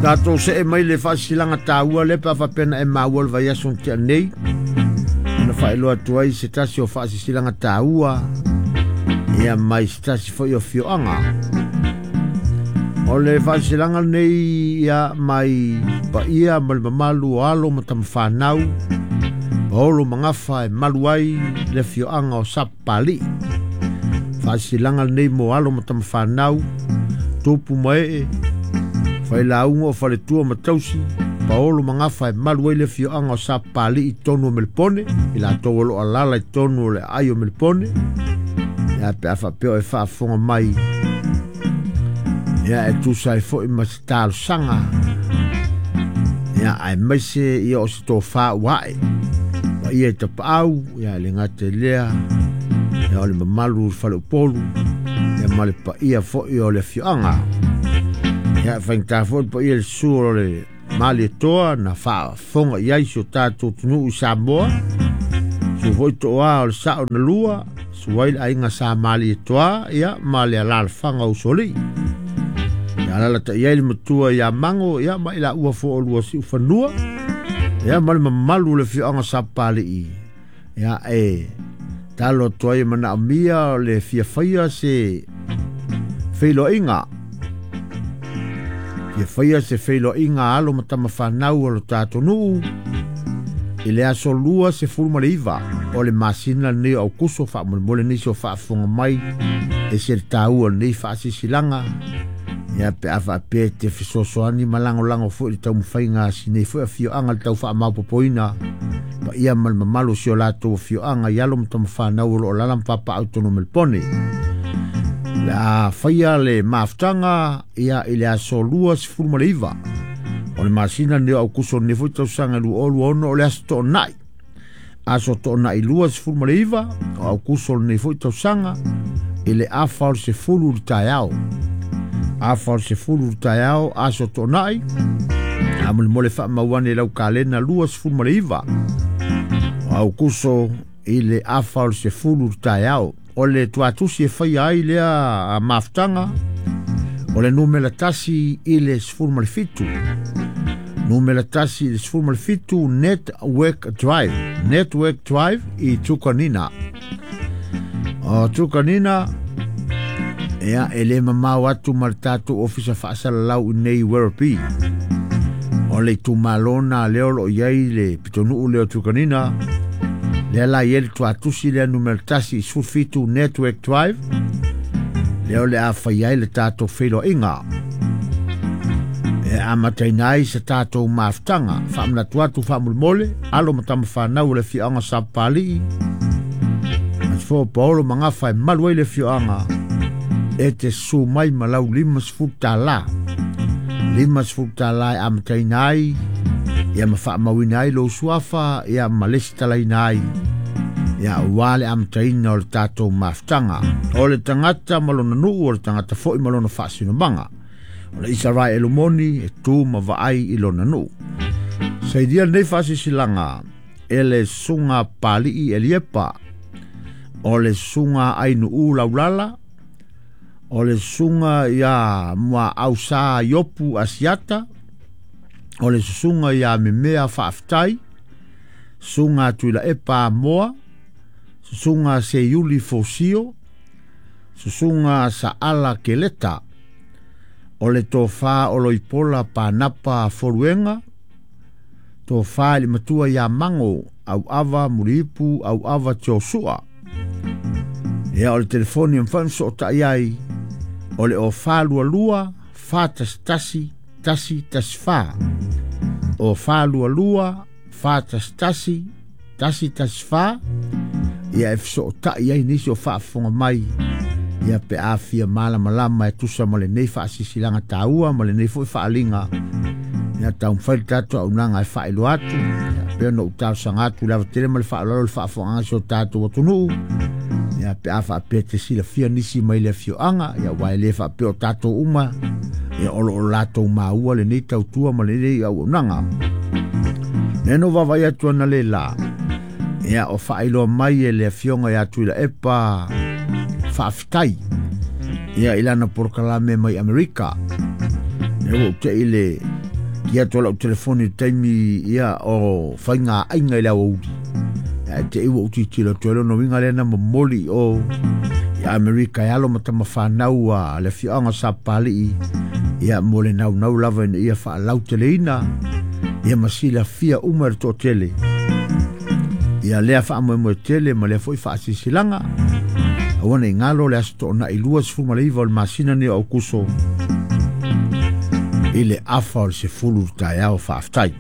Tatou see mai le faasilasilaga taua lea pe a faapea na e maua le vaiaso na tea nei ona faailoa atu ai se tasi o faasilasilaga taua ia mai se tasi foi o afioaga. O le faasilasilaga lenei ia mai paia ma le mamalu o alo ma tamafanau paolo magafa e malu ai le afioaga o Sapapalii. Faasilasilaga lenei mo alo ma tamafanau tupu ma ee failauga o faletua ma tausi paolo magafa e malu ai le afioaga o Sapapalii i totonu o Melepone i latou o loo alala i totonu o le aai o Melepone ia pe a faapea o e faafofoga mai ia e tusa ai foi ma se talosaga ia aemaise ia o se tofā ua ae paia i tapaau ia e le gata i lea ia o le mamalu o le faleupolu ia ma le paia foi o le afioaga. Ia faigata foi le paia i le susu o le Malietoa na faafofoga i ai si o tatou atunuu i Samoa. Susu foi toa o le sao na lua, susu ai le aiga Sa Malietoa ia ma le alalafaga o Usoalii. Ia alalatai ai le matua ia Mago ia ma i laua foi o lua siufanua ia ma le mamalu o le afioaga Sapapalii. Ia e talo atu ai e manaomia o le fia faia se feiloaiga. Fia faia se feiloaiga a alo ma tamafanau o lo tatou nuu i le aso 29 o le masina lenei o Aukuso. Faamolemole nisi o faafofoga mai e se le taua o lenei faasilasilaga ia pe a faapea e te fesoasoani ma lagolago foi i le taumafaiga a si nei foi afioaga le tau faamaopoopoina paia ma le mamalu o si o latou afioaga i alo ma tamafanau o lo o alaala ma papaaao i totonu o Melepone. O le a faia le mafutaga ia i le aso 29 o le masina lenei o Aukuso lenei foi tausaga 2026 o le aso Toonai. Aso Toonai 29 o Aukuso lenei foi tausaga i le afa o le 10 i le taeao. Afa o le 10 i le taeao aso Toonai. Faamolemole faamau ane i lau kalena 29 o Aukuso i le afa o le 10 i le taeao. O le tuatusi e faia ai lea mafutaga o le numera 1 i le 17. Numera 1 i le 17 Network Drive. Network Drive i Truganina. O Truganina ia e le mamao atu ma le tatou ofisa faasalalau i nei Werribee. O le itumalo na lea o lo o i ai le pitonuu lea o Truganina. Lea la i ai le tuatusi lea numera 1 i 17 Network Drive. Lea o le a fai ai le tatou feiloaiga. E amataina ai se tatou mafutaga. Faamanatu atu faamolemole, alo ma tamafanau o le afioaga Sapapalii. Fo Paolo Magafa e malu ai le afioaga e te susu mai ma lau $50. $50 e amataina ai ia ma faamauina ai lou suafa ia ma lesitalaina ai ia aua le amataina o le tatou mafutaga. O le tagata ma lona nuu, o le tagata foi ma lona faasinomaga. O le Isaraelu moni e tu ma vaai i lona nuu. Sailia lenei faasilasilaga e le susuga Palii Eliepa, o le susuga Ainuu Laulala, o le susuga ia Muaausa Iopu Asiata, o le susuga ia Memea Faafetai, susuga Tuilaepa Amoa, susuga Seiuli Fosio, susuga Saala Keleta, o le tofa o Loipola Panapa Foluega, tofa i le matua ia Mago Auava Muliipu Auava Tiosua. Ia o le telefoni e mafai ona sootai ai o le o 422 411 114. O 422 411 114 ia e fesootai ai nisi o faafofoga mai ia pe a fia malamalama e tusa ma lenei faasilasilaga taua ma lenei foi faaaliga ia taumafai le tatou auaunaga e faailoa atu ia pei ona ou talosaga atu i le ava tele ma le faaaloalo i le faafofogaaga a si o tatou atunuu ia pe a faapea te silafia nisi mai le afioaga ia aua e le faapea o tatou uma ia o lo o latou maua lenei tautua ma lenei auaunaga. Lea na ou vaavaai atu analeila ia o faailoa mai e le afioga ia Tuilaepa Faafetai ia i lana polokalame mai Amerika. Lea ua ou tei le Kia atu lau telefoni i taimi ia o whainga ainga i le awauli. Ia te iwa uti tilo atu lona winga lea na momoli o i Amerika e alo ma tamawhanau a le fioanga sa pali ia mo le nau nau lava ina ia faalauteleina ia ma silafia uma le toatele ia lea faamoemoe tele ma lea foi faasisilaga aua ne i galo le aso toonai 29 o le masina nei o Aukuso i le afa o le 10 taeao. Faafetai.